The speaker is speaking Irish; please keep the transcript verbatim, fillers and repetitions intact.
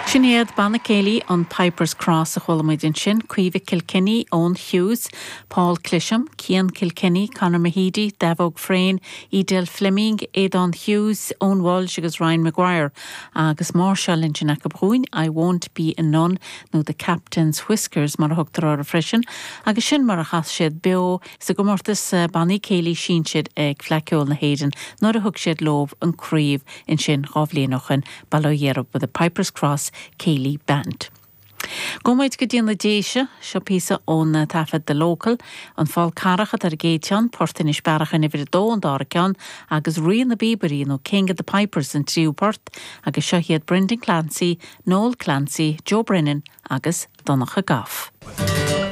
Sin iad Banna Céilí an Pipers Cross a chuala muid ansin, Caoimhe Kilkenny, Owen Hughes, Paul Clisham, Cian Kilkenny, Conor Mahidi, Davog Frayne, Edel Fleming, Aidan Hughes, Owen Walsh agus Ryan Maguire agus máirseáil ansin acu dhúinn I won't be a nun nó the Captain's Whiskers mar a thugtar orthu freisin, agus sin mar a chas siad beo sa gcomórtas eh, bannaí céilí sinsir ag Fleadh Cheoil na hÉireann nuair a thug siad leo an chraobh ansin dhá bhliain ó shin bail ó Dhia orthu the Pipers Cross Céilí Band. Gabhfaidh muid go dtí na Déise seo píosa ón taifead The Local, an Fál Carrach ar an gcéad cheann Port Inis Bearach in uimhir a dó an dara ceann agus Rí na bPíobairí nó King of the Pipers an tríú port agus seo iad Brendan Clancy, Noel Clancy, Joe Brennan agus Donncha Goff.